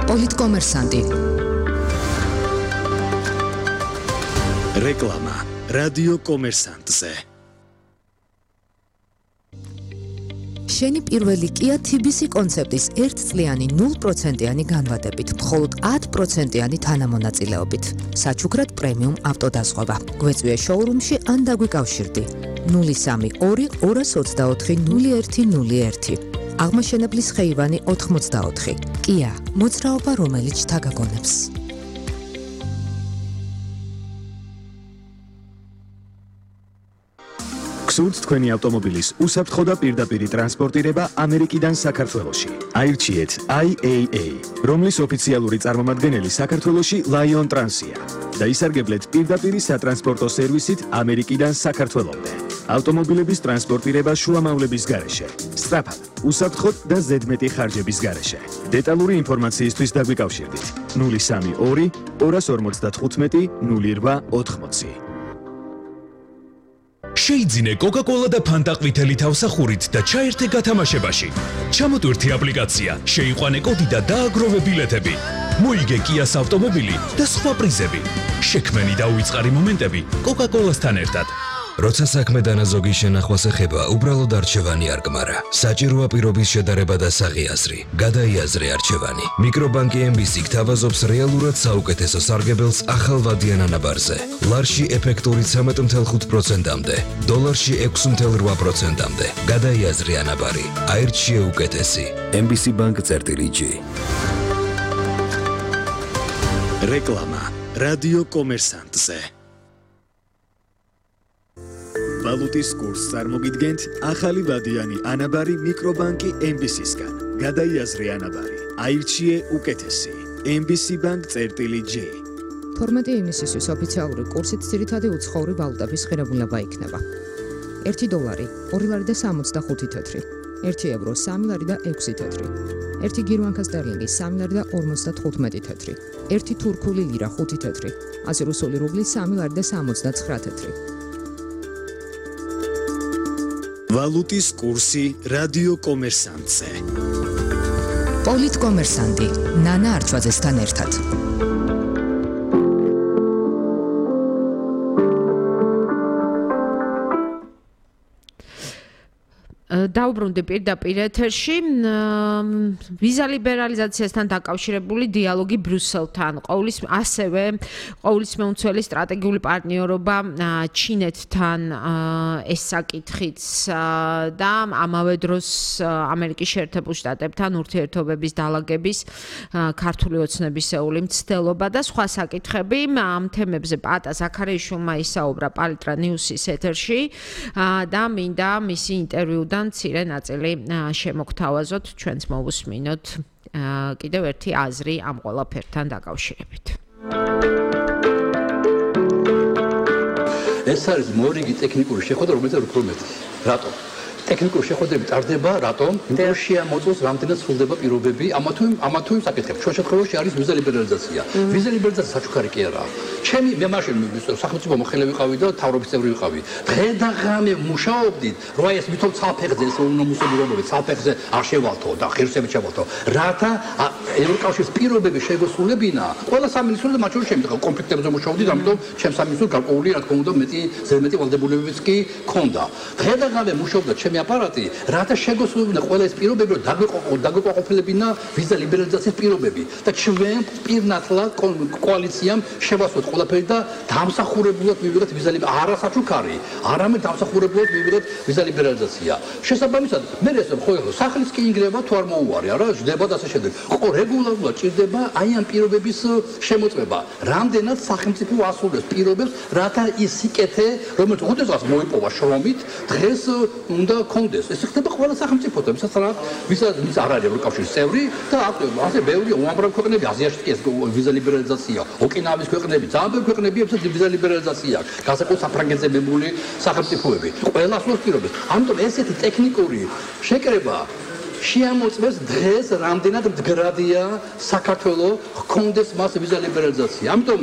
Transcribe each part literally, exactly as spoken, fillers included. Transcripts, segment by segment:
პოლიტკომერსანტი. რეკლამა რადიო კომერსანტზე. შენი პირველი Kia T B C კონცეპტის ერთწლიანი ნულ პროცენტიანი განვადებით, მხოლოდ ათი პროცენტიანი თანამონაწილეობით. საჩუქრად პრემიუმ ავტოდაზღვევა. გვეწვია შოურუმში ან დაგვიკავშირდი. ნული სამი ორი ორას ოცდაოთხი ნული ერთი ნული ერთი. აღმაშენებლის ხეივანი ოთხმოცდაოთხი. Kia, მოძრაობა რომელიც თაგაგონებს. გსურთ თქვენი ავტომობილის უსაფრთხო და პირდაპირი ტრანსპორტირება ამერიკიდან საქართველოში. აირჩიეთ I A A, რომლის ოფიციალური წარმომადგენელი საქართველოში Lion Trans-ია და ისარგებლეთ პირდაპირი სატრანსპორტო სერვისით ამერიკიდან საქართველომდე. ავტომობილების ტრანსპორტირება შუამავლების გარეშე, სწრაფად, უსაფრთხოდ და ზედმეტი ხარჯების გარეშე. დეტალური ინფორმაციისთვის დაგვიკავშირდით ნული სამი ორი ორას ორმოცდათხუთმეტი ნული რვა ოთხმოცი. შეიძინე Coca-Cola და Fanta ყვითელი თავსახურით და ჩაერთე გათამაშებაში. ჩამოტვირთი აპლიკაცია, შეიყვანე კოდი და დააგროვე ბილეთები. მოიგე Kia-ს ავტომობილი და სხვა პრიზები. შექმენი და უიწყარი მომენტები Coca-Cola-სთან ერთად. როცა საქმე დანაზოგი შენახვას ეხება, უბრალოდ არჩევანი არ გმარა. საჭიროა პირობის შედარება და საღიაზრი. გადაიაზრე არჩევანი. მიკრობანკი M B C გთავაზობს რეალურად საუკეთესო სარგებელს ახალ ვადიან ანაბარზე. ლარში ეფექტური ცამეტი ფاصლე ხუთ პროცენტამდე, დოლარში ექვსი ფاصლე რვა პროცენტამდე. გადაიაზრე ანაბარი. აირჩიე უკეთესი. M B C Bank წერტილი G. რეკლამა რადიო კომერსანტზე. ვალუტის კურსს წარმოგიდგენთ ახალი ვადიანი ანაბარი მიკრობანკი M B C-სგან. გადაიაზრე ანაბარი. აირჩიე უკეთესი. M B C Bank წერტილი G. თორმეტი ივნისისთვის ოფიციალური კურსით ძირითადი უცხოური ვალუტების ღირებულება იქნება. ერთი დოლარი ორი ლარი და სამოცდახუთი თეთრი. ერთი ევრო სამი ლარი და ექვსი თეთრი. ერთი გირვანკა სტერლინგი სამი ლარი და ორმოცდათხუთმეტი თეთრი. ერთი თურქული ლირა ხუთი თეთრი. ასი რუსული რუბლი სამი ლარი და სამოცდაცხრა თეთრი. ვალუტის კურსი რადიო კომერსანტზე. პოლიტკომერსანტი ნანა არჩვაძესთან ერთად. დაუბრუნდი პირდაპირ ეთერში ვიზა ლიბერალიზაციასთან დაკავშირებული დიალოგი ბრიუსელთან ყოვლის ასევე ყოვლის მეუცველი სტრატეგიული პარტნიორობა ჩინეთთან ეს საკითხიც და ამავე დროს ამერიკის შეერთებულ შტატებთან ურთიერთობების დალაგების ქართული ოცნებისეული მცდელობა და სხვა საკითხები ამ თემებზე პატა ზაქარიაშვილმა ისაუბრა პალიტრა ნიუსის ეთერში და მინდა მისი ინტერვიუდან მცირე ნაწილი შემოგთავაზოთ ჩვენც მოვუსმინოთ კიდევ ერთი აზრი ამ ყველაფერთან დაკავშირებით. ეს არის მორიგი ტექნიკური შეხვედრა, რომელიც უფრო მეტი. რატომ? ტექნიკური შეხვედრები ტარდება, რატომ? იმიტომ რომ შეამოწმოს რამდენად სრულდება პირობები ამა თუ ამა თუ იმ საკითხებში. ჩვენ შემთხვევაში არის ვიზა ლიბერალიზაცია. ვიზა ლიბერალიზაცია საჩუქარი კი არა. ჩემი მე მაშინ სახელმწიფო მოხელე ვიყავი და თავრობის წევრი ვიყავი. დღე და ღამე მუშაობდით, რომ ეს მithom ცალფეხზე ეს უნომუსები რომლებიც ცალფეხზე არ შევალთო და ღირსებით შევალთო. რათა ევროკავშირის პირობები შეგოსულებინა, ყველა სამინისტრო და მათ შორის შემდგომ კონფლიქტებზე მუშაობდით, ამიტომ ჩემს სამინისტროს გარკვეული რა თქმა უნდა მეტი ზედმეტი ვალდებულებებიც კი ქონდა. დღე და ღამე მუშაობდა ჩემი აპარატი, რათა შეგოსულებინა ყველა ეს პირობები, რომ დაგვეყოფილებინა ვიზა ლიბერალიზაციის პირობები და ჩვენ პირნათლად კოალიციამ შევასვათ ყველაფერი და დამსახურებულად მივიღეთ ვიზა ლიბერალიზაცია. არა საჩუქარი, არამედ დამსახურებულად მივიღეთ ვიზა ლიბერალიზაცია. შესაბამისად, მე ეს ხო სახლის კი ინგრევა თუ არ მოუვარი, არა, ჯდება და ასე შემდეგ. ხო რეგულარულად ჭირდება აი ამ პირობების შემოწმება. რამდენად სახელმწიფო ასრულებს პირობებს, რათა ის სიკეთე, რომელიც უდესღაც მოიპოვა შრომით, დღეს უნდა კონდეს. ეს ხდება ყველა სახელმწიფოთან, ვისაც ვისაც ვის არ არის ევროკავშირის წევრი და ასე ბევრი უამრავი ქვეყნები აზიაში კი ეს ვიზა ლიბერალიზაცია. ოკინავის ქვეყნები, ძალიან ბევრი ქვეყნები ეცეთ ვიზა ლიბერალიზაცია. განსაკუთრებით საფრანგეთზე მებული სახელმწიფოები. ყველა ასრულებს პირობებს. ამიტომ ესეთი ტექნიკური შეკრება შეამოწმეს დღეს რამდენად მდგრადია საქართველოს ჰქონდეს მას ვიზა ლიბერალიზაცია. ამიტომ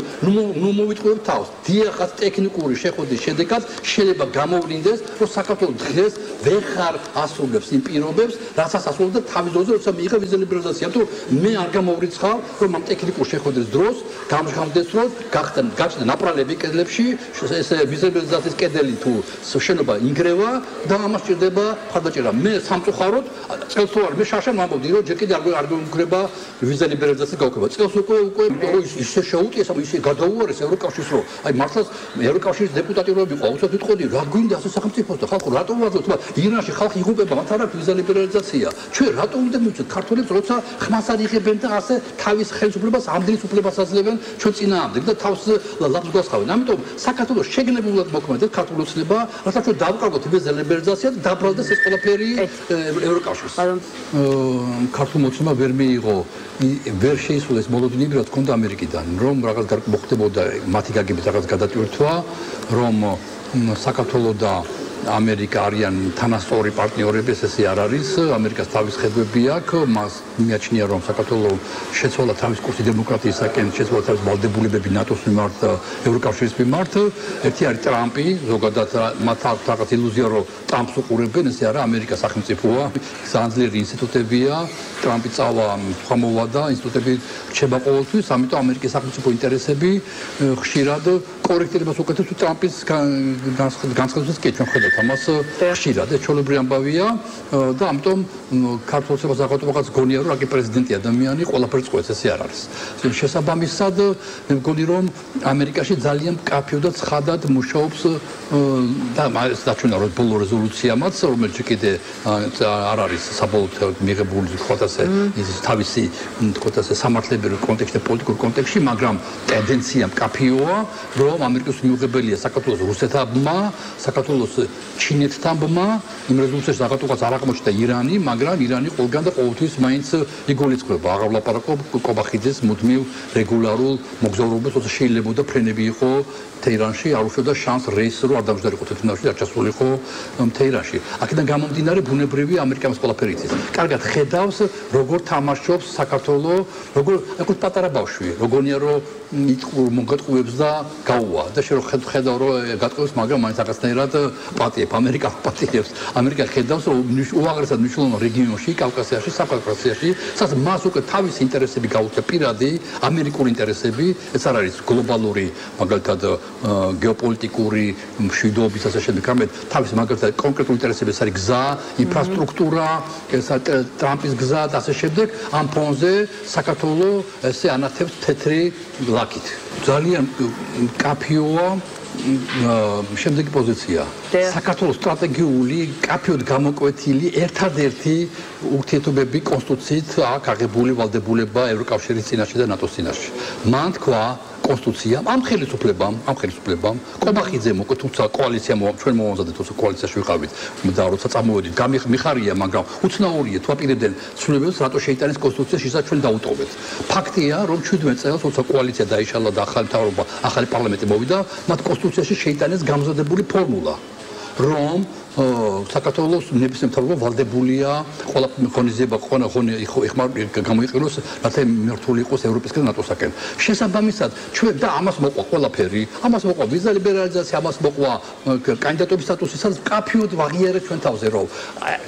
ნუ მოვიტყუებთ თავს. დიახაც ტექნიკური შეხვედრის შედეგად შეიძლება გამოვლინდეს, რომ საქართველოს დღეს ვეღარ ასრულებს იმ პირობებს, რასაც ასრულებდა თავის დროზე, როცა მიიღო ვიზა ლიბერალიზაცია. ამიტომ მე არ გამოვრიცხავ, რომ ამ ტექნიკურ შეხვედრის დროს გამჟღავნდეს, რომ გაჩნდა ნაპრალები კედლებში, ეს ვიზა ლიბერალიზაციის კედელი თუ შენობა ინგრევა და ამას ჭირდება მხარდაჭერა. მე სამწუხაროდ წელს თუ არ მე შაშამ ამბობდი, რომ ჯერ კიდე არ გვეუბნება ვიზა ლიბერალიზაციის გაუქმება. წელს უკვე უკვე ისე შეუტიეს, ამ ისე გადაუარეს ევროკავშირს, რომ აი მართლაც ევროკავშირის დეპუტატი რო ვიყო, უცებ ვიტყოდი, რა გვინდა ასე სახელმწიფოს და ხალხო რატო ვაძლევთ? ირანში ხალხი იღუპება, მათ არ აქვს ვიზა ლიბერალიზაცია. ჩვენ რატო უნდა მივცეთ ქართველებს, როცა ხმას არ იღებენ და ასე თავის ხელისუფლებას, ამდენის უფლებას აძლევენ ჩვენ წინააღმდეგ და თავს ლაპს გვასხავენ. ამიტომ საქართველოს შეგნებულად მოქმედებს ქართული ოცნება, რასაც ჩვენ დავკარგოთ ვიზა ლიბერალიზაცია და დაბრალდეს ეს ყველაფერი ევროკავშირს. ქართულ მოცემა ვერ მიიღო, ვერ შეისრულეს მოლოდინები, რაც ჰქონდა ამერიკიდან, რომ რაღაც მოხდებოდა მათი გაგებით რაღაც გადატვირთვა, რომ საქართველო და ამერიკა არიან თანასწორი პარტნიორები, ესე არ არის. ამერიკას თავის ხედვები აქვს, მას მიაჩნია, რომ საქართველოს შეცვალა თავის კურსი დემოკრატიისაკენ, შეცვალა თავის ვალდებულებები ნატოს მიმართ, ევროკავშირის მიმართ. ერთი არის ტრამპი, ზოგადად მათ აქვს რაღაც ილუზია, რომ ტრამპს უყურებენ, ესე არა, ამერიკა სახელმწიფოა, ძალიან ძლიერი ინსტიტუტებია, ტრამპი წავა, სხვა მოვა და ინსტიტუტები რჩება ყოველთვის, ამიტომ ამერიკის სახელმწიფო ინტერესები ხშირად კორექტირებას უკეთებს ტრამპის განცხადებას კი ჩვენ ხედავთ ამას ხშირად ეს ჩვეულებრივი ამბავია და ამიტომ ქართულ ოცნებას აღარ გონია რომ რაკი პრეზიდენტი ადამიანი ყველაფერს წყვეტს ესე არ არის. შესაბამისად მე მგონი რომ ამერიკაში ძალიან მკაფიო და ცხადად მუშაობს და ეს დაჩვენა რომ ბოლო რეზოლუციამაც რომელიც კიდე არ არის საბოლოოდ მიღებული თქვათ ასე ის თავისი თქვათ ასე სამართლებრივ კონტექსტში პოლიტიკურ კონტექსტში მაგრამ ტენდენცია მკაფიოა რომ ამერიკის მიუღებელია საქართველოს რუსეთმა საქართველოს ჩინეთთან ბმა იმ რეზოლუციაში რაღაცა არ აღმოჩნდა ირანი მაგრამ ირანი ყველგან და ყოველთვის მაინც იგულისხმება აღარ ვლაპარაკობ კობახიძეს მუდმივ რეგულარულ მოგზაურობას როცა შეიძლება და ფრენები იყო თეირანში არ უშევდა შანს რეისს რომ არ დამჯდარიყო თეთრნავში არ ჩასულიყო თეირანში აქედან გამომდინარე ბუნებრივი ამერიკამის ყველაფერი იცის კარგად ხედავს როგორ თამაშობს საქართველოს როგორ აკუთ პატარა ბავშვი როგორია რომ მოგატყუებს და გაუვა და შე რო ხედავ რომ გატყუებს მაგრამ მაინც რაღაცნაირად პატიებ ამერიკა პატიებს ამერიკა ხედავს რომ უაღრესად მნიშვნელოვან რეგიონში კავკასიაში საფრანგეთში სადაც მას უკვე თავის ინტერესები გაუწია პირადი ამერიკული ინტერესები ეს არ არის გლობალური მაგალითად გეოპოლიტიკური მშვიდობის ასე შემდეგ რამე თავის მაგალითად კონკრეტული ინტერესები ეს არის გზა ინფრასტრუქტურა ეს ტრამპის გზა და ასე შემდეგ ამ ფონზე საქართველოს ესე ანათებს თეთრი ლაკით ძალიან კაფიოა შემდეგი პოზიცია საქართველოს სტრატეგიული კაფიოდ გამოკვეთილი ერთადერთი ურთიერთობები კონსტიტუციით აქვს აღებული ვალდებულება ევროკავშირის წინაშე და ნატოს წინაშე მან თქვა კონსტიტუცია ამ ხელისუფლებამ ამ ხელისუფლებამ კობახიძემ უკვე თუმცა კოალიცია ჩვენ მოვამზადეთ თუმცა კოალიციაში ვიყავით და როცა წამოვედით გამიხარია მაგრამ უცნაურია თუ აპირებდნენ ცვლილებებს რატო შეიტანეს კონსტიტუცია შესაც ჩვენ დაუტოვეთ ფაქტია რომ ჩვიდმეტ წელს როცა კოალიცია დაიშალა და ახალი მთავრობა ახალი პარლამენტი მოვიდა მათ კონსტიტუციაში შეიტანეს გამზადებული ფორმულა რომ საქართველოს ნებისმიერ მთავრობა ვალდებულია ყველა ღონისძიება ყველა ღონე გამოიყენოს რათა მართული იყოს ევროპისკენ და ნატოსაკენ შესაბამისად ჩვენ და ამას მოყვა ყველაფერი ამას მოყვა ვიზა ლიბერალიზაცია ამას მოყვა კანდიდატობის სტატუსი სადაც კაფიოდ ვაღიარეთ ჩვენ თავზე რომ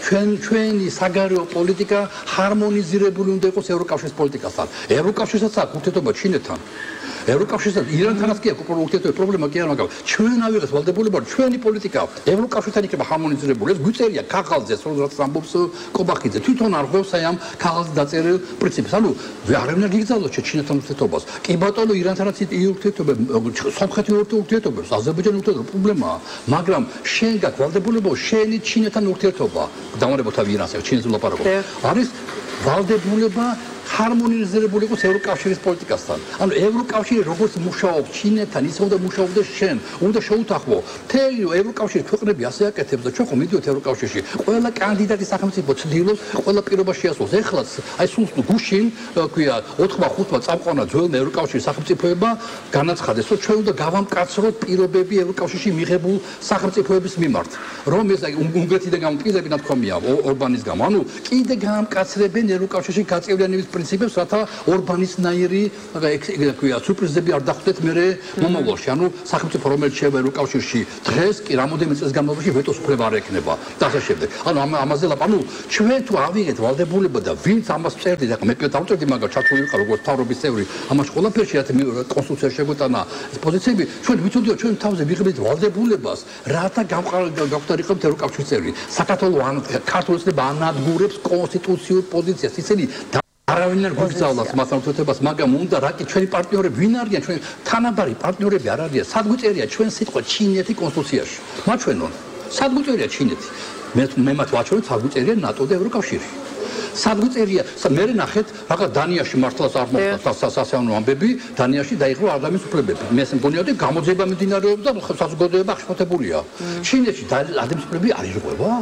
ჩვენ ჩვენი საგარეო პოლიტიკა ჰარმონიზირებული უნდა იყოს ევროკავშირის პოლიტიკასთან ევროკავშირსაც აქვს ურთიერთობა ჩინეთთან ევროკავშირთან ირანთანაც კი აქვს ურთიერთობის პრობლემა კი არ მაგალითად ჩვენ ავიღეთ ვალდებულება ჩვენი პოლიტიკა ევროკავშირთან იქნება ჰარმონიზირებული ეს გვიწერია ქაღალდზე სადაც ამბობს კობახიძე თვითონ არ ღვევს აი ამ ქაღალდზე დაწერილ პრინციპს ანუ არავინ არ გიგზავნოს ჩინეთთან ურთიერთობას კი ბატონო ირანთანაც ურთიერთობა სომხეთი ურთიერთობებს აზერბაიჯანი ურთიერთობა პრობლემაა მაგრამ შენ გაქვს ვალდებულება შენი ჩინეთთან ურთიერთობა დამარებო თავი ირანს ჩინეთს ვლაპარაკობ არის ვალდებულება ჰარმონიზირებული იყოს ევროკავშირის პოლიტიკასთან. ანუ ევროკავშირი როგორც მუშაობს ჩინეთთან, ისე უნდა მუშაობდეს შენ, უნდა შეუთანხმო. მთელი ევროკავშირის ქვეყნები ასე აკეთებს და ჩვენ ხომ მიდიოთ ევროკავშირში. ყველა კანდიდატი სახელმწიფო ცდილობს ყველა პირობა შეასრულოს. ეხლაც აი სულ გუშინ ქვია ოთხმოცდახუთმა წამყვანმა ძველ ევროკავშირის სახელმწიფოებმა განაცხადეს, რომ ჩვენ უნდა გავამკაცროთ პირობები ევროკავშირში მიღებულ სახელმწიფოების მიმართ. რომ ეს უნგრეთიდან გამომყიდები ნათქვამია ორბანის გამო. ანუ კიდე გაამკაცრებენ ევროკავშირში გაწევრიანების პრინციპებს, რათა ორბანისნაირი ქვია სურპრიზები არ დახვდეთ მერე მომავალში. ანუ სახელმწიფო რომელიც შევა ევროკავშირში დღეს კი რამოდენიმე წელს განმავლობაში ვეტოს უფლება არ ექნება და ასე შემდეგ. ანუ ამაზე ლაპ, ანუ ჩვენ თუ ავიღეთ ვალდებულება და ვინც ამას წერდით, ახლა მე დავწერდი მაგას ჩართული ვიყავ როგორც თავრობის წევრი, ამაში ყველაფერში რაც კონსტიტუციაში შეგვეტანა ეს პოზიციები, ჩვენ ვიცოდიო ჩვენ თავზე ვიღებთ ვალდებულებას, რათა გავხდარიყავთ ევროკავშირის წევრი. საქართველოს ან ქართული ოცნება ანადგურებს კონსტიტუციურ პოზიციას. ისინი არავინ არ გვიგზავნოს მას ურთიერთობას, მაგრამ უნდა რაკი ჩვენი პარტნიორები ვინ არიან, ჩვენ თანაბარი პარტნიორები არ არიან. სად გვიწერია ჩვენ სიტყვა ჩინეთი კონსტიტუციაში? მაჩვენონ. სად გვიწერია ჩინეთი? მე მე მათ ვაჩვენებ, სად გვიწერია ნატო და ევროკავშირი. სად გვიწერია? მე ნახეთ, რაღაც დანიაში მართლაც არ მოხდა სასეანო ამბები, დანიაში დაიხურა ადამიანის უფლებები. მე ესე მგონია, რომ გამოძიება მიმდინარეობს და საზოგადოება აღშფოთებულია. ჩინეთში ადამიანის უფლებები არ ირღვევა?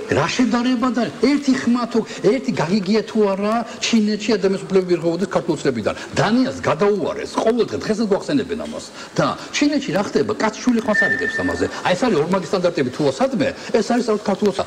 რა შედარება და ერთი ხმა თუ ერთი გაგიგია თუ არა ჩინეთში ადამიანის უფლებები ირღვევოდეს ქართულსლებიდან. დანიას გადაუარეს ყოველდღე დღესაც გვახსენებენ ამას. და ჩინეთში რა ხდება? კაცშვილი ხმას არიგებს ამაზე. აი ეს არის ორმაგი სტანდარტები თუ ასადმე, ეს არის საერთოდ ქართულსა.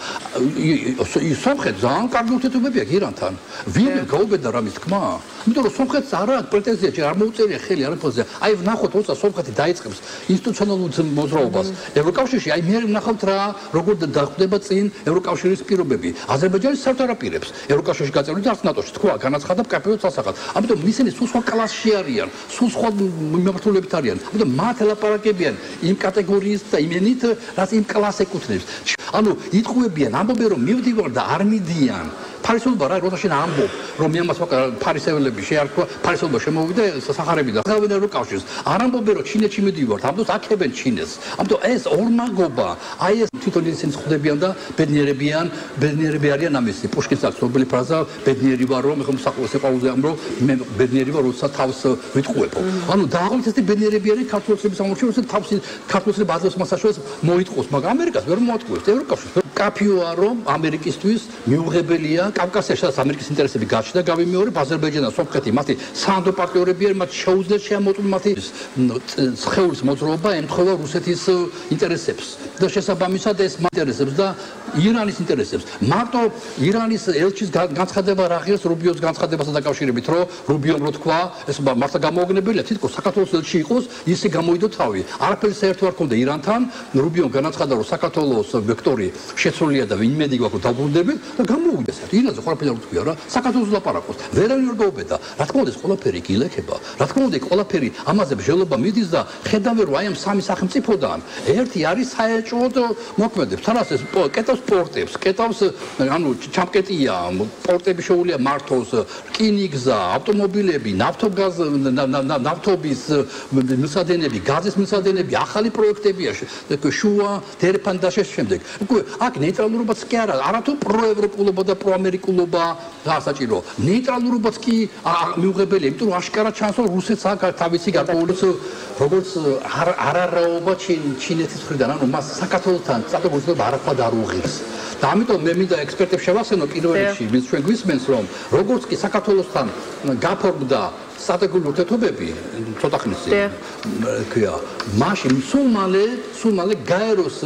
სომხეთს ძალიან კარგი ურთიერთობები აქვს ირანთან. ვინ გაუბედა რამის თქმა? იმიტომ რომ სომხეთს არ აქვს პრეტენზია, არ მოუწერია ხელი არაფერზე. აი ვნახოთ, როცა სომხეთი დაიწყებს ინსტიტუციონალურ მოძრაობას ევროკავშირში, აი მე ვნახავთ რა, როგორ დახვდება წინ ევროკავშირის პირობები. აზერბაიჯანის საერთოდ არ აპირებს ევროკავშირში გაწევრით და არც ნატოში. თქვა, განაცხადა კაფეოთ სასახად. ამიტომ ისინი სულ სხვა კლასში არიან, სულ სხვა მიმართულებით არიან. ამიტომ მათ ელაპარაკებიან იმ კატეგორიის და იმენით, რაც იმ კლასს ეკუთვნებს. ანუ იტყუებიან, ამბობენ რომ მივდივარ და არ მიდიან. ფარისეულობა რა, როცა შენ ამბობ, რომ მე ამას ფარისეულები შეარქვა, ფარისეულობა შემოვიდა სახარები და ხავენ ევროკავშირს. არ ამბობენ რომ ჩინეთში მიდივართ, ამბობს აქებენ ჩინეთს. ამიტომ ეს ორმაგობა, აი ეს თვითონ ისინი ხვდებიან და ბედნიერებიან, ბედნიერები არიან ამისი. პუშკინს აქვს ცნობილი ფრაზა, ბედნიერი ვარ რომ ეხლა საყოველთაო ამ რომ მე ბედნიერი ვარ, როცა თავს ვიტყუებო. ანუ დააღლით ეს ბედნიერები არიან ქართულსების სამორჩილო, როცა თავს ქართულსები აზრს მასაშორეს მოიტყოს, მაგრამ ამერიკას ვერ მოატყუებს, ევროკავშირს. კაფიოა რომ ამერიკისთვის მიუღებელია კავკასიაში სადაც ამერიკის ინტერესები გაჩნდა, გავიმეორებ აზერბაიჯანს, სომხეთი, მათი საანდო პარტნიორები არიან, მათ შეუძლიათ შეამოწმონ მათი სხეულის მოძრაობა ემთხვევა რუსეთის ინტერესებს და შესაბამისად ეს ინტერესებს და ირანის ინტერესებს. მარტო ირანის ელჩის განცხადება რა ღირს რუბიოს განცხადებასთან დაკავშირებით, რომ რუბიომ რო თქვა, ეს მართლა გამოუგნებელია, თითქოს საქართველოს ელჩი იყოს, ისე გამოიდო თავი. არაფერი საერთო არ ქონდა ირანთან, რუბიომ განაცხადა, რომ საქართველოს ვექტორი შეცვლილია და იმედი გვაქვს რომ დაბრუნდებით და გამოუგდეს. ირანზე ყველაფერი არ თქვია რა, საქართველოს ლაპარაკობს. ვერავინ არ გაუბედა. რა თქმა უნდა ეს ყველაფერი გილექება. რა თქმა უნდა ყველაფერი ამაზე ბრძოლობა მიდის და ხედავენ რომ აი ამ სამი სახელმწიფოდან ერთი არის საეჭვოდ მოქმედებს. თანაც ეს კეტავს პორტებს, კეტავს ანუ ჩამკეტია, პორტები შეუულია მართოს, რკინიგზა, ავტომობილები, ნავთობგაზ ნავთობის მისადენები, გაზის მისადენები, ახალი პროექტებია, შუა დერეფანი და შემდეგ. უკვე აქ ნეიტრალურობაც კი არა, არათუ პროევროპულობა და პროამერიკულობა გასაჭირო. ნეიტრალურობაც კი მიუღებელია, იმიტომ რომ აშკარად ჩანს, რომ რუსეთს აქვს თავისი გარკვეული როგორც არარაობა ჩინეთის მხრიდან, ანუ მას საქართველოსთან სტატუსად არაფრად არ უღირს. და ამიტომ მე მინდა ექსპერტებს შევახსენო პირველ რიგში, ვინც ჩვენ გვისმენს, რომ როგორც კი საქართველოსთან გაფორმდა სტრატეგიული ურთიერთობები ცოტა ხნისი ქვია მაშინ სულ მალე სულ მალე გაეროს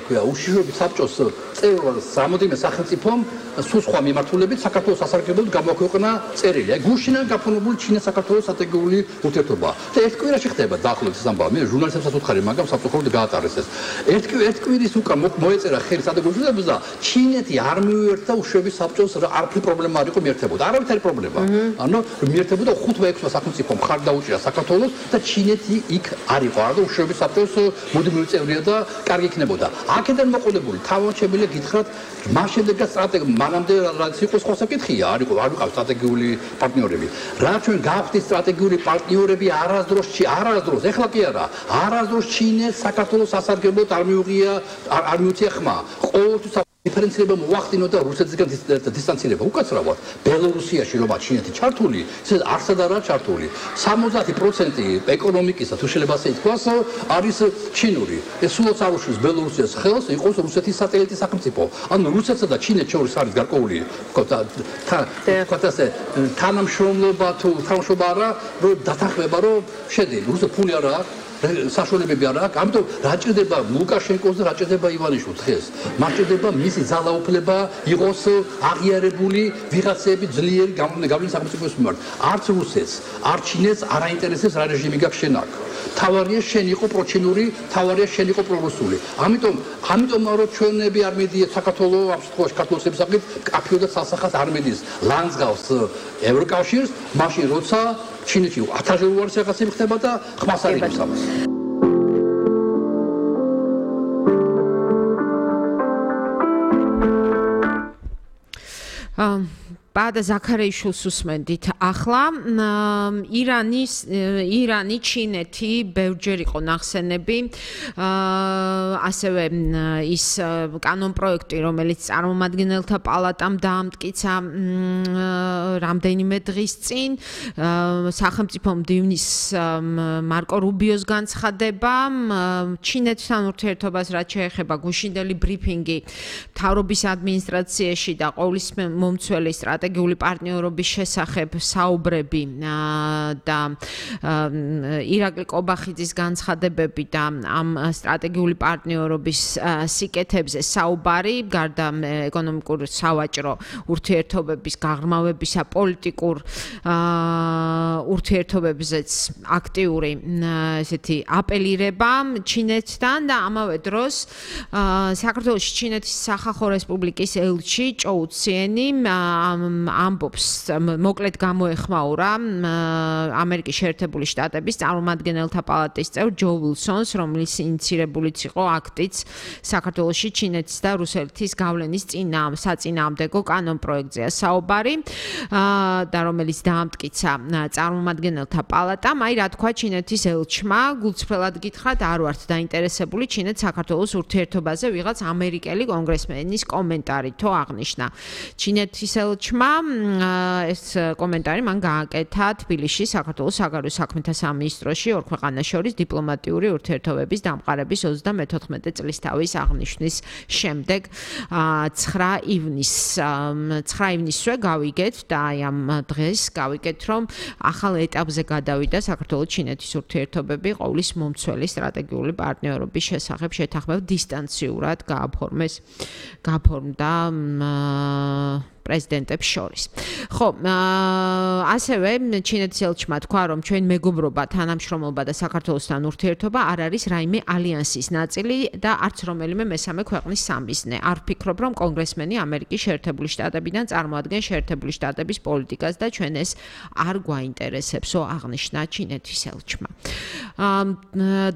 ქვია უშიშროების საბჭოს წევრს რამოდენიმე სახელმწიფომ სულ სხვა მიმართულებით საქართველოს სასარგებლოდ გამოაქვეყნა წერილი. აი გუშინან გაფორმებული ჩინეთ-საქართველოს სტრატეგიული ურთიერთობა. და ერთ კვირაში ხდება დაახლოებით ეს ამბავი. მე ჟურნალისტებსაც უთხარი, მაგრამ საფრთხოდ გაატარეს ეს. ერთ ერთ კვირის უკან მოეწერა ხელი სტრატეგიული ურთიერთობაზე და ჩინეთი არ მიუერთდა უშიშროების საბჭოს არაფერი პრობლემა არ იყო მიერთებოდა. არავითარი პრობლემა. ანუ მიერთებოდა ხუთმა ექვსმა სახელმწიფომ მხარ დაუჭირა საქართველოს და ჩინეთი იქ არ იყო. არა და უშიშროების საბჭოს მუდმივი წევრია და კარგი იქნებოდა. აქედან მოყოლებული თავად შემიძლია გითხრათ მას შემდეგაც სტრატეგია მანამდე რაც იყო სხვა საკითხია, არ იყო არ ვიყავ სტრატეგიული პარტნიორები. რა ჩვენ გავხდით სტრატეგიული პარტნიორები არასდროს არასდროს ეხლა კი არა, არასდროს ჩინეთს საქართველოს სასარგებლოდ არ მიუღია არ მიუწია ხმა. ყოველთვის დიფერენცირება მოახდინო და რუსეთისგან დისტანცირება უკაცრავად ბელორუსიაში რომ ჩინეთი ჩართული ეს არცად არა ჩართული სამოცდაათი პროცენტი ეკონომიკისა თუ შეიძლება ასე ითქვას არის ჩინური ეს სულაც არ უშლის ბელორუსიას ხელს იყოს რუსეთის სატელიტი სახელმწიფო ანუ რუსეთსა და ჩინეთს შორის არის გარკვეული ვთქვათ ასე თანამშრომლობა თუ თანამშრომლობა არა რომ დათანხმება რომ შედი რუსეთს ფული არა აქვს საშუალებები არ აქვს, ამიტომ რა ჭირდება ლუკაშენკოს და რა ჭირდება ივანიშვილს დღეს. მას ჭირდება მისი ძალაუფლება იყოს აღიარებული ვიღაცები ძლიერი გავლენის სახელმწიფოს მიმართ. არც რუსეთს, არც ჩინეთს არ აინტერესებს რა რეჟიმი გაქვს შენ აქ. თავარია შენ იყო პროჩინური, თავარია შენ იყო პრორუსული. ამიტომ, ამიტომ რომ ჩვენები არ მედიეთ საქართველოს ამ შემთხვევაში ქართულებს ემსახურეთ, კაფეო და სასახას არ მედიის ლანძღავს ევროკავშირს, მაშინ როცა ჩინეთში ათასჯერ უარეს რაღაცები ხდება და ხმას არ იღებს ამას. Um Bada ზაქარეიშვილს უსმენდით. ახლა ირანის ირანი, ჩინეთი ბევრჯერ იყო ნახსენები. ასევე ის კანონპროექტი, რომელიც წარმომადგენელთა პალატამ დაამტკიცა რამდენიმე დღის წინ, სახელმწიფო მდივნის მარკო რუბიოს განცხადება, ჩინეთთან ურთიერთობას რაც შეეხება გუშინდელი ბრიფინგი მთავრობის ადმინისტრაციაში და ყოვლის მომცველი სტრატეგიული პარტნიორობის შესახებ საუბრები და ირაკლი კობახიძის განცხადებები და ამ სტრატეგიული პარტნიორობის სიკეთებზე საუბარი, გარდა ეკონომიკურ სავაჭრო ურთიერთობების გაღრმავებისა, პოლიტიკურ ურთიერთობებზეც აქტიური ესეთი აპელირება ჩინეთთან და ამავე დროს საქართველოს ჩინეთის სახალხო რესპუბლიკის ელჩი ჭოუ ციენი ამბობს მოკლედ გამოეხმაურა ამერიკის შეერთებული შტატების წარმომადგენელთა პალატის წევრ ჯო ვილსონს, რომლის ინიციირებულიც იყო აქტიც საქართველოში ჩინეთის და რუსეთის გავლენის საწინააღმდეგო კანონპროექტზეა საუბარი და რომელიც დაამტკიცა წარმომადგენელთა პალატამ. აი რა თქვა ჩინეთის ელჩმა, გულწრფელად გითხრათ, არ ვართ დაინტერესებული ჩინეთ-საქართველოს ურთიერთობაზე ვიღაც ამერიკელი კონგრესმენის კომენტარითო აღნიშნა. ჩინეთის ელჩმა ეს კომენტარი მან გააკეთა თბილისში საქართველოს საგარეო საქმეთა სამინისტროში ორ ქვეყანას შორის დიპლომატიური ურთიერთობების დამყარების ოცდამეთოთხმეტე წლისთავის აღნიშვნის შემდეგ ცხრა ივნისზე გავიგეთ და აი ამ დღეს გავიგეთ, რომ ახალ ეტაპზე გადავიდა საქართველოს-ჩინეთის ურთიერთობები ყოვლის მომცველი სტრატეგიული პარტნიორობის შესახებ შეთანხმება დისტანციურად გააფორმეს გააფორმდა პრეზიდენტებს შორის. ხო, ასევე ჩინეთის ელჩმა თქვა, რომ ჩვენ მეგობრობა, თანამშრომლობა და საქართველოსთან ურთიერთობა არ არის რაიმე ალიანსის ნაწილი და არც რომელიმე მესამე ქვეყნის სამიზნე. არ ვფიქრობ, რომ კონგრესმენი ამერიკის შეერთებული შტატებიდან წარმოადგენს შეერთებული შტატების პოლიტიკას და ჩვენ ეს არ გვაინტერესებსო, აღნიშნა ჩინეთის ელჩმა.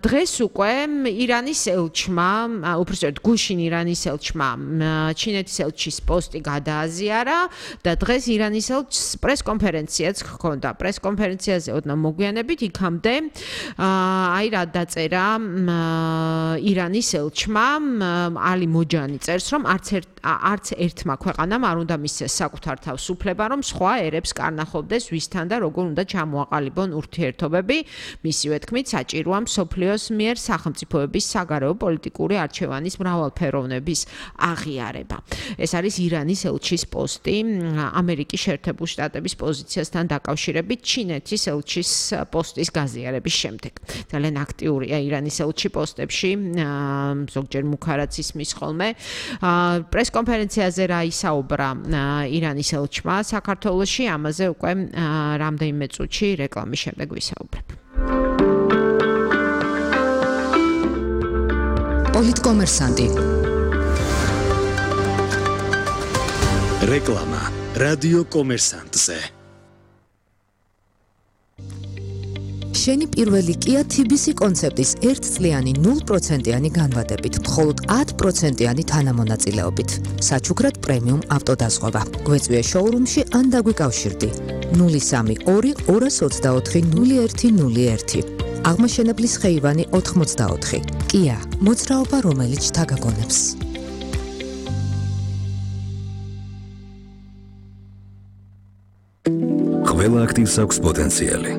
დღეს უკვე ირანის ელჩმა, უბრალოდ გუშინ ირანის ელჩმა ჩინეთის ელჩის პოსტი გადააზია და დღეს ირანის ელჩს პრესკონფერენციაც ჰქონდა. პრესკონფერენციაზე ოდნავ მოგვიანებით იქამდე აი რა დაწერა ირანის ელჩმა ალი მოჯანი წერს, რომ არც ერთ არც ერთმა ქვეყანამ არ უნდა მისცეს საკუთარ თავს უფლება, რომ სხვა ერებს კარნახობდეს ვისთან და როგორ უნდა ჩამოაყალიბონ ურთიერთობები. მისივე თქმით, საჭიროა მსოფლიოს მიერ სახელმწიფოების საგარეო პოლიტიკური არჩევანის მრავალფეროვნების აღიარება. ეს არის ირანის ელჩის პოსტი ამერიკის შეერთებული შტატების პოზიციასთან დაკავშირებით ჩინეთის ელჩის პოსტის გაზიარების შემდეგ. ძალიან აქტიურია ირანის ელჩი პოსტებში, ზოგჯერ მუქარაც ისმის ხოლმე. პრესკონფერენციაზე რა ისაუბრა ირანის ელჩმა საქართველოში, ამაზე უკვე რამდენიმე წუთში რეკლამის შემდეგ ვისაუბრებ. პოლიტკომერსანტი. რეკლამა რადიო კომერსანტზე. შენი პირველი Kia თი ბი სი კონცეპტის ერთწლიანი ნულ პროცენტიანი განვადებით, მხოლოდ ათი პროცენტიანი თანამონაწილეობით. საჩუქრად პრემიუმ ავტოდაზღვევა. გვეწვია შოურუმში ან დაგვიკავშირდი. ნული სამი ორი ორას ოცდაოთხი ნული ერთი ნული ერთი. აღმაშენებლის ხეივანი ოთხმოცდაოთხი. Kia, მოძრაობა, რომელიც შთაგაგონებს. ყველა აქტივს აქვს პოტენციალი.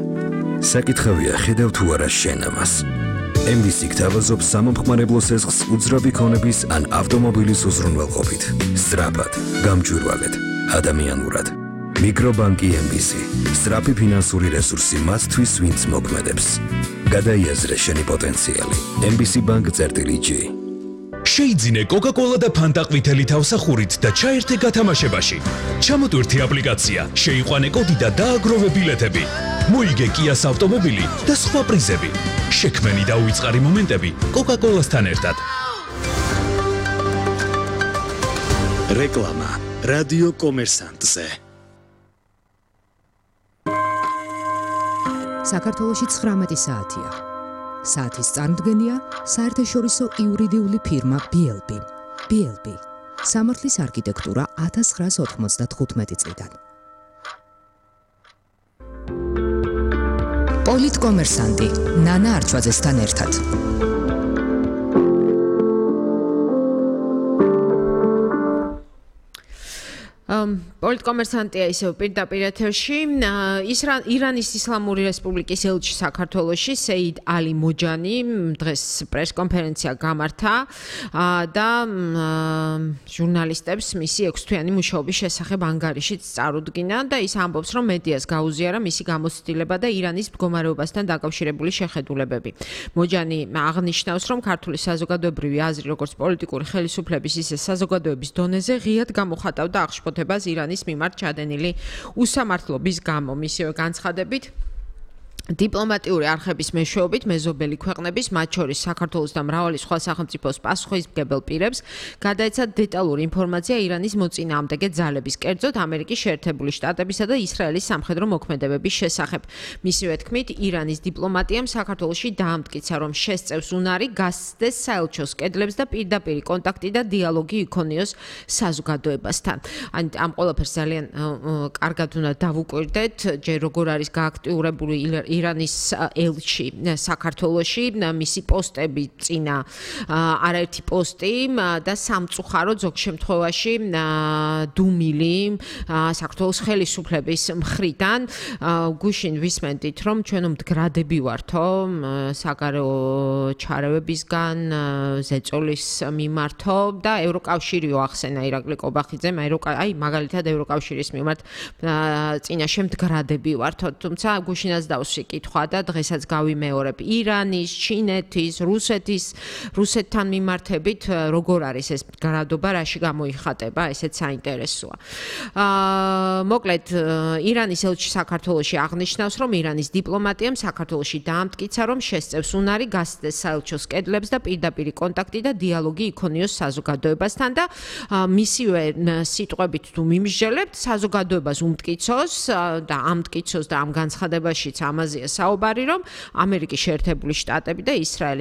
საკითხავია ხედავ თუ არა შენ ამას. ემ ბი სი გთავაზობს სამომხმარებლო სესხს უძრავი ქონების ან ავტომობილის უზრუნველყოფით. სწრაფად, გამჭვირვალედ, ადამიანურად. მიკრობანკი ემ ბი სი. სწრაფი ფინანსური რესურსი მათთვის, ვინც მოქმედებს. გადაიაზრე შენი პოტენციალი. ემ ბი სი ბანკ წერტილი ჯი. შეიძინე კოკა-კოლა და ფანტა ყვითელი თავსახურით და ჩაერთე გათამაშებაში. ჩამოტვირთი აპლიკაცია, შეიყვანე კოდი და დააგროვე ბილეთები. მოიგე კიას ავტომობილი და სხვა პრიზები. შექმენი და უიწყარი მომენტები კოკა-კოლასთან ერთად. რეკლამა რადიო კომერსანტზე. საქართველოში ცხრამეტი საათია. საათის წარმოდგენია საერთაშორისო იურიდიული ფირმა ბი ელ ბი. ბი ელ ბი. სამართლის არქიტექტურა ათას ცხრაასი ოთხმოცდათხუთმეტი წლიდან. პოლიტკომერსანტი ნანა არჩვაძესთან ერთად. პოლიტკომერსანტია ისევ პირდაპირ ეთერში. ირანის ისლამური რესპუბლიკის ელჩი საქართველოში სეიდ ალი მოჯანი დღეს პრესკონფერენცია გამართა და ჟურნალისტებს მისი ექვსთვიანი მუშაობის შესახებ ანგარიშიც წარუდგინა და ის ამბობს, რომ მედიას გაუზიარა მისი გამოცდილება და ირანის მდგომარეობასთან დაკავშირებული შეხედულებები. მოჯანი აღნიშნავს, რომ ქართული საზოგადოებრივი აზრი, როგორც პოლიტიკური ხელისუფლების, ისე საზოგადოების დონეზე ღიად გამოხატავდა აღშფოთებას ირანის მიმართ ჩადენილი უსამართლობის გამო. მისივე განცხადებით დიპლომატიური არხების მეშვეობით მეზობელი ქვეყნების, მათ შორის საქართველოს და მრავალი სხვა სახელმწიფოს პასუხისმგებელ პირებს გადაეცათ დეტალური ინფორმაცია ირანის მოწინააღმდეგე ძალების, კერძოდ ამერიკის შეერთებული შტატებისა და ისრაელის სამხედრო მოქმედებების შესახებ. მისივე თქმით, ირანის დიპლომატიამ საქართველოში დაამტკიცა, რომ შესწევს უნარი გასცდეს საელჩოს კედლებს და პირდაპირი კონტაქტი და დიალოგი იქონიოს საზოგადოებასთან. ამ ყველაფერს ძალიან კარგად უნდა დავუკვირდეთ, ჯერ როგორ არის გააქტიურებული ირანის ელჩი საქართველოში, მისი პოსტები წინა არაერთი პოსტი და სამწუხაროდ ზოგ შემთხვევაში დუმილი საქართველოს ხელისუფლების მხრიდან. გუშინ ვისმენდით, რომ ჩვენ მდგრადები ვართო საგარეო ჩარევებისგან, ზეწოლის მიმართო და ევროკავშირიო ახსენა ირაკლი კობახიძემ, აი მაგალითად ევროკავშირის მიმართ წინაშე მდგრადები ვართო, თუმცა გუშინაც დავსვი კითხვა და დღესაც გავიმეორებ ირანის, ჩინეთის, რუსეთის, რუსეთთან მიმართებით როგორ არის ეს მდგრადობა, რაში გამოიხატება, ესეც საინტერესოა. მოკლედ, ირანის ელჩი საქართველოში აღნიშნავს, რომ ირანის დიპლომატიამ საქართველოში დაამტკიცა, რომ შესწევს უნარი გასცდეს საელჩოს კედლებს და პირდაპირი კონტაქტი და დიალოგი იქონიოს საზოგადოებასთან და მისივე სიტყვებით თუ მიმსჯელებთ, საზოგადოებას უმტკიცოს და ამტკიცოს და ამ განცხადებაშიც ამაზეა საუბარი, რომ ამერიკის შეერთებული შტატები და ისრაელი